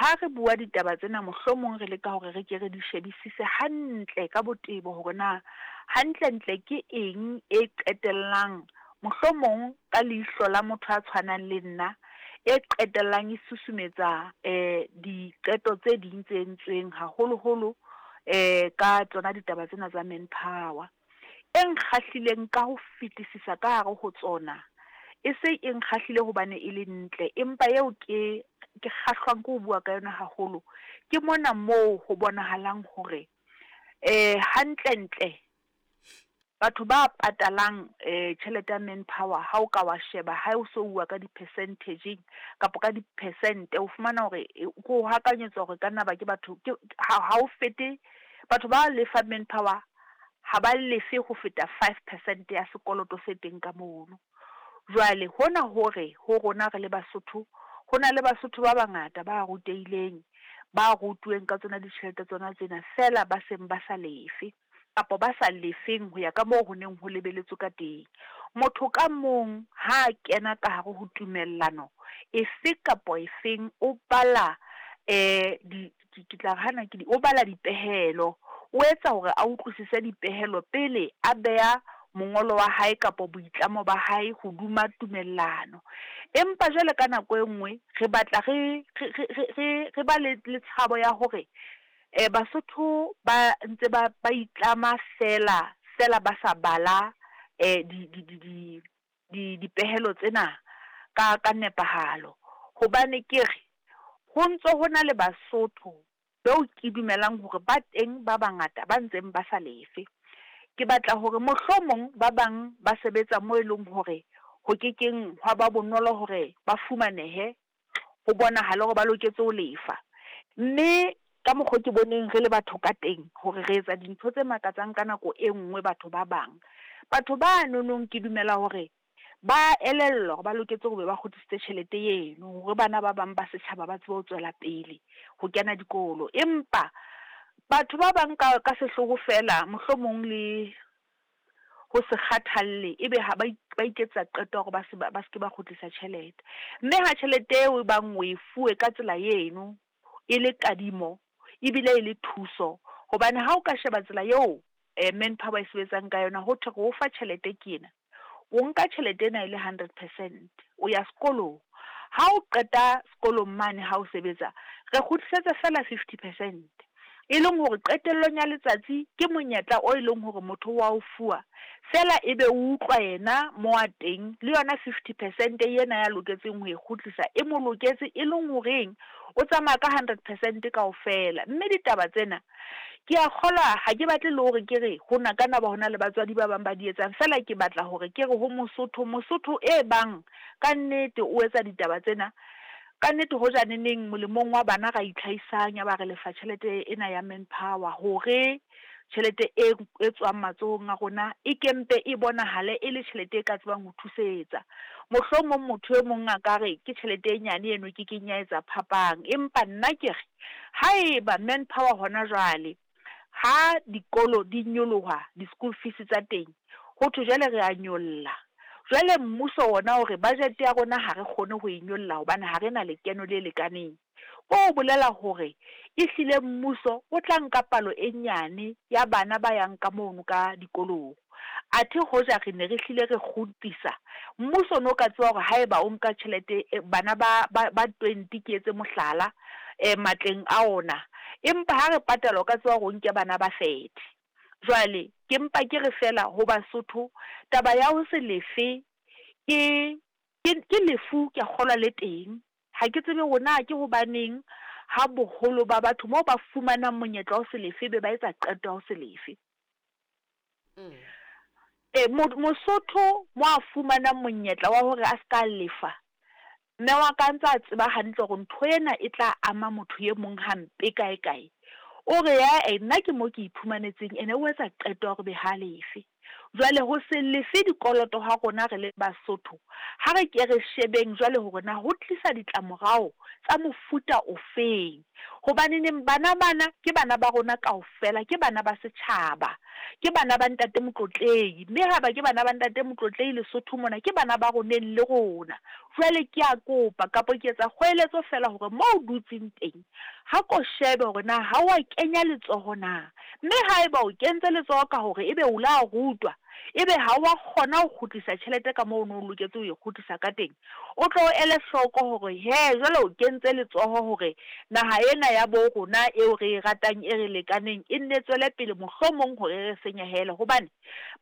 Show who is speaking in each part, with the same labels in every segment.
Speaker 1: Ha re bua ditaba tsena mohlomong re leka hore re ke re di shebisise hantle ka botebo hore na hantlentle ke eng e qetellang mohlomong ka leihlo la motho a tshwanang le nna, e qetellang e susumetsa diqeto tse ding tse entsweng haholoholo ka tsona ditaba tsena tsa manpower. E nkgahlileng ka ho fetisisa ka hare ho tsona, e se e nkgahlile hobane e le ntle, empa eo ke ke kgahlwang ke ho bua ka yona haholo, ke mona moo ho bonahalang hore hantlentle batho ba patalang tjhelete ya manpower ha o ka wa sheba ha o so uwa ka di-percentage kapa ka di-percent-e, o fumana hore ke ho hakanyetsa hore e ka nna ba ke batho ke ha ha o fete batho ba lefang manpower ha ba lefe ho feta 5 percent ya sekoloto se teng ka mono. Jwale hona hore ho rona re le Basotho, ho na le Basotho ba bangata ba rutehileng, ba rutuweng ka tsona ditjhelete tsona tsena feela ba seng ba sa lefe kapa ba sa lefeng ho ya ka moo ho neng ho lebeletswe ka teng. Motho ka mong ha a kena ka hare ho tumellano efe kapa efeng, o bala di ke tla re hana ke di, o bala dipehelo, o etsa hore a utlwisise dipehelo pele a beha mongolo wa hae kapa boitlamo ba hae hoduma tumellano. Empa jwale ka nako e nngwe re batla re re re re re ba le le tshabo ya hore Basotho ba ntse ba ba itlama feela feela ba sa bala di di di di di dipehelo tsena ka ka nepahalo. Hobane ke re ho ntso ho na le Basotho beo ke dumelang hore ba teng ba bangata ba ntseng ba sa lefe. Ke batla hore mohlomong ba bang ba sebetsa mo e leng hore ho kekeng hwa ba bonolo hore ba fumanehe, ho bonahale hore ba loketse ho lefa. Mme ka mokgo ke boneng re le batho ka teng hore re etsa dintho tse makatsang ka nako e nngwe batho ba bang. Batho ba nonong ke dumela hore ba elellwa hore ba loketse hore ba kgutlisitse tjhelete eno hore bana ba bang ba setjhaba ba tsebe ho tswela pele ho kena dikolo. Empa batho ba bang ka ka sehloho feela mohlomong le ho se kgathalle, ebe ha ba ba iketsetsa qeto ya hore ba se ba se ke ba kgutlisa tjhelete. Mme ha tjhelete eo e bang o e fuwe ka tsela eno e le kadimo ebile e le thuso, hobane ha o ka sheba tsela eo manpower e sebetsang ka yona, ho thwe re o fa tjhelete ke ena, o nka tjhelete ena e le 100%, o ya sekolong. Ha o qeta sekolong mane ha o sebetsa, re kgutlisetsa feela 50%. E leng hore qetellong ya letsatsi ke monyetla o e leng hore motho wa o fuwa, feela ebe o utlwa yena mo a teng le yona 50% ena ya loketseng ho e kgutlisa e mo loketse, e leng horeng o tsamaya ka 100% kaofela. Mme ditaba tsena ke a kgolwa, ha ke batle le hore ke re ho na ka na ba hona le batswadi ba bang ba di etsang, feela ke batla hore ke re ho Mosotho, Mosotho e bang ka nnete o etsa ditaba tsena ka nnete, hoja neneng molemong wa bana ra itlhahisang ya ba re lefa tjhelete ena ya manpower hore tjhelete e e tswang matsohong a rona e kempe e bonahale e le tjhelete e ka tsebang ho thusetsa. Mohlomong motho e mong a ka re ke tjhelete e nyane eno ke keng ya etsa phapang, empa nna ke re haeba manpower hona jwale ha dikolo di nyoloha di-school fees tsa teng, ho thwe jwale re a nyolla, jwale mmuso ona hore budget ya rona ha re kgone ho e nyolla hobane ha re na lekeno le lekaneng, ko ho bolela hore ehlile mmuso o tla nka palo e nyane ya bana ba yang ka mono ka dikolong. Athe hoja re ne re hlile re kgutlisa, mmuso o no ka tseba hore haeba o nka tjhelete bana ba ba ba 20, ke etse mohlala, matleng a ona, empa ha re patala o ka tseba hore o nke bana ba 30. Jwale ke mpa ke re feela ho Basotho, taba ya ho se lefe ke ke lefu, ke a kgolwa le teng. Ha ke tsebe hore na ke hobaneng ha boholo ba batho moo ba fumanang monyetla wa ho se lefe be ba etsa qeto ya ho se lefe. Mosotho mo a fumanang monyetla wa hore a ska lefa, mme wa ka ntse a tseba hantle hore ntho ena e tla ama motho e mong hampe kae kae, o re ae nna ke mo ke iphumanetseng, ene o etsa qeto ya hore be ha lefe. Jwale ho se lefe dikoloto ha rona re le Basotho, ha re ke re shebeng jwale hore na ho tlisa ditlamorao tsa mofuta ofeng. Hobaneneng bana bana ke bana ba rona kaofela, ke bana ba setjhaba. Ke bana ba Ntate Motlotlehi, mme haeba ke bana ba Ntate Motlotlehi Lesotho mona, ke bana ba roneng le rona. Jwale ke a kopa, kapa ke etsa kgoeletso feela hore moo o dutseng teng, ha ko shebe hore na ha o a kenya letsoho na. Mme haeba o kentse letsoho ka hore ebe o la rutwa, ebe ha o a kgona ho kgutlisa tjhelete ka moo o ne o loketse ho e kgutlisa ka teng, o tlo o ele hloko hore hee jwale o kentse letsoho hore naha ena ya bo rona eo re e ratang e re lekaneng e nne e tswele pele mohlomong hore e re senyehele. Hobane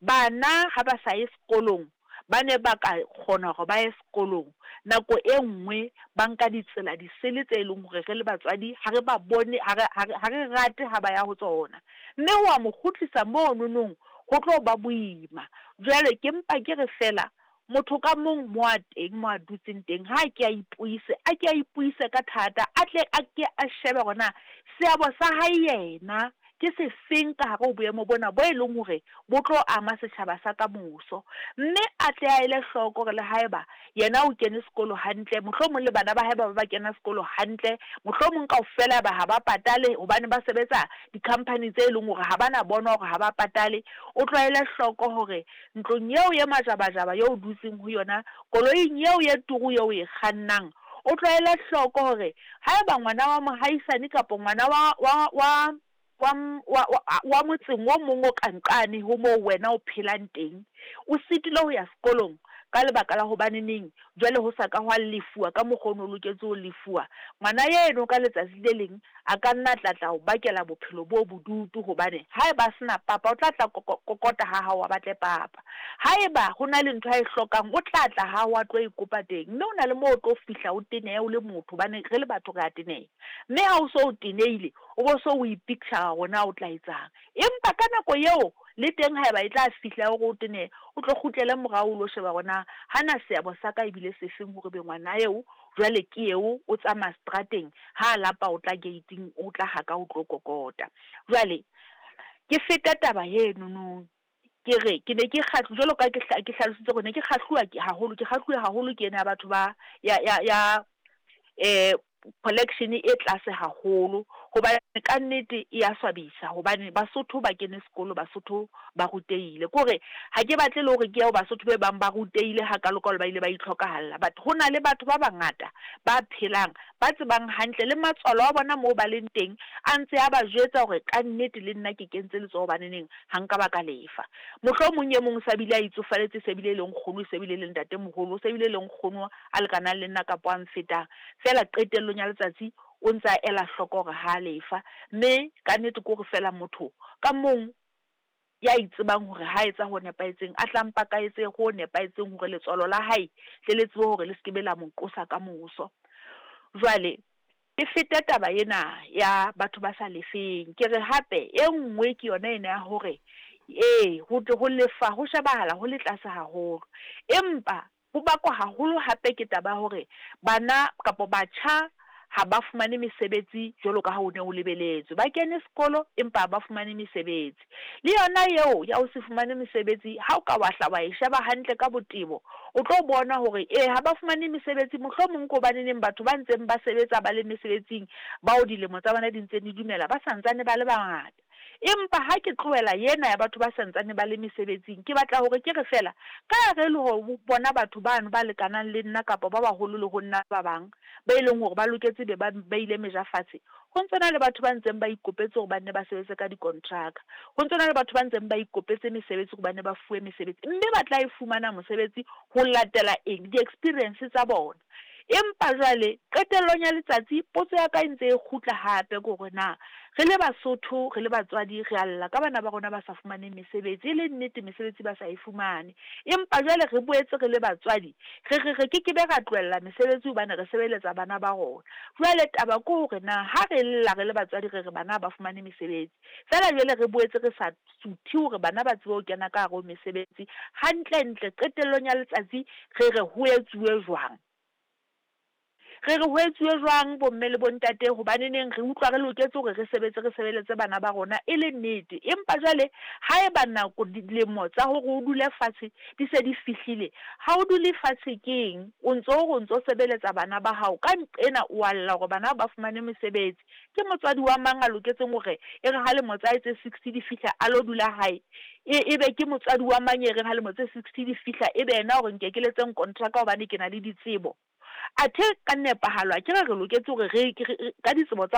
Speaker 1: bana ha ba sa ye sekolong ba ne ba ka kgona hore ba ye sekolong, nako e nngwe ba nka ditsela disele tse e leng hore re le batswadi ha re ba bone, ha re, ha re, ha re rate ha ba ya ho tsona. Mme wa mo kgutlisa mononong ho tlo ba boima. Jwale ke mpa ke re feela motho ka mong mo a teng, mo a dutseng teng, ha a ke a ipuise, a ke a ipuise ka thata, a tle a ke a shebe hore na seabo sa hae yena ke sefeng ka hare ho boemo bona bo e leng hore bo tlo ama setjhaba sa ka moso. Mme a tle a ele hloko hore le haeba yena o kene sekolo hantle, mohlomong le bana ba hae ba ba ba kena sekolo hantle, mohlomong kaofela ba ha ba patale hobane ba sebetsa di-company tse leng hore ha ba na bona hore ha ba patale. O tlo ele hloko hore ntlong eo ye majabajaba eo o dutseng ho yona, koloing eo ye turu eo o e kgannang, o tlo ele hloko hore haeba ngwana wa mohaisane kapa ngwana wa, wa, wa, wa, wa, wa, wa motseng o mong o ka nqane ho moo wena o phelang teng, o sitilwe ho ya sekolong ka lebaka la hobaneneng jwale ho sa ka hwa lefuwa ka mokgwa o ne o loketse ho lefuwa, ngwana eno ka letsatsi le leng a ka nna a tla tla o bakela bophelo bo bodutu hobane haeba a se na papa o tla tla kokota ha hao a batle papa. Haeba ho na le ntho a e hlokang o tla tla ha hao a tlo e kopa teng. Mme ho na le moo o tlo fihla o tenehe o le motho hobane re le batho re a teneha. Mme ha o so o tenehile o bo so o ipicture hore na o tla etsang. Empa ka nako eo le teng haeba e tla fihla ya hore o tenehe, o tlo kgutlele morao o lo sheba hore na hana seabo sa ka ebile sefeng hore ebe ngwana eo jwale ke eo o tsamaya seterateng, ha a lapa o tla gate-ing o tla ha ka o tlo kokota. Jwale ke fete taba enono ke re ke ne ke kgahlu jwalo ka ke ke hlalositse hore ne ke kgahluwa ke haholo ke kgahluwe haholo ke ena ya batho ba ya ya ya eh collection e tlase haholo hobane ka nnete e ya swabisa hobane Basotho ba kene sekolo Basotho ba rutehile. Ke hore ha ke batle le hore ke ye ho Basotho be bang ba rutehile hakalokalo ba ile ba itlhokahalla but ho na le batho ba bangata ba phelang ba tsebang hantle le matswalo a bona moo ba leng teng a ntse a ba jwetsa hore ka nnete le nna ke kentse letsoho hobaneneng ha nka ba ka lefa. Mohlomong e mong o sa bile a itsofaletse e se bile e le nkgono e se bile e le ntatemoholo o se bile e le nkgono a lekanang le nna kapa a mfetang feela qetellong ya letsatsi o ntse a ela hloko hore ha a lefa mme ka nnete ke hore feela motho ka mong ya itsebang hore ha etsa ho nepahetseng a tla mpa ka etse ho nepahetseng hore letswalo la hae tle le tsebe hore le se ke be la mo qosa ka moso. Jwale ke fete taba ena ya batho ba sa lefeng. Ke re hape e nngwe ke yona ena ya hore ee ho ho lefa ho shebahala ho le tlase haholo, empa ho bakwa haholo hape ke taba ya hore bana kapa batjha ha ba fumane mesebetsi jwalo ka ha ho ne ho lebeletswe. Ba kene sekolo empa ha ba fumane mesebetsi. Le yona eo ya ho se fumane mesebetsi ha o ka wa hla wa e sheba hantle ka botebo, o tlo bona hore ee ha ba fumane mesebetsi mohlomong ke hobaneneng batho ba ntseng ba sebetsa ba le mesebetsing bao dilemo tsa bona di ntseng di dumela ba sa ntsane ba le bangata. Empa ha ke tlohela ena ya batho ba sa ntsane ba le mesebetsing, ke batla hore ke re feela, ka hare le ho bona batho bano ba lekanang le nna kapa ba baholo le ho nna ba bang, ba e leng hore ba loketse be ba beile meja fatshe, ho ntse na le batho ba ntseng ba ikopetse hore ba nne ba sebetse ka dikontraka. Ho ntse na le batho ba ntseng ba ikopetse mesebetsi hore ba nne ba fuwe mesebetsi, mme ba tla e fumana mosebetsi ho latela eng? Di-experience tsa bona. Empa jwale, qetellong ya letsatsi, potso ya ka e ntse e kgutla hape ke hore na re le Basotho, re le batswadi, re a lla ka bana ba rona ba sa fumaneng mesebetsi. E le nnete mesebetsi ba sa e fumane. Empa jwale re boetse re le batswadi, re re re ke ke be ra tlohella mesebetsi hobane re sebeletsa bana ba rona. Jwale taba ke hore na ha re lla re le batswadi re re bana ha ba fumane mesebetsi, feela jwale re boetse re sa suthe hore bana ba tsebe ho kena ka hare ho mesebetsi, hantlentle qetellong ya letsatsi re re ho etsuwe jwang? Re re ho etsuwe jwang bomme le bontate hobaneneng re utlwa re loketse hore re sebetse re sebeletse bana ba rona e le nnete. Empa jwale haeba nako dilemo tsa hore o dule fatshe di se di fihlile, ha o dule fatshe keng o ntso o re o ntso sebeletsa bana ba hao ka nqena o a lla hore bana ba fumane mesebetsi. Ke motswadi wa mang a loketseng hore e re ha lemo tsa hae tse 60 di fihla a lo dula hae? E e be ke motswadi wa mang e reng ha lemo tse 60 di fihla e be yena o re nkekeletseng kontraka hobane ke na le ditsebo? Athe ka nepahalo akere re loketse hore re, re, ka ditsebo tsa.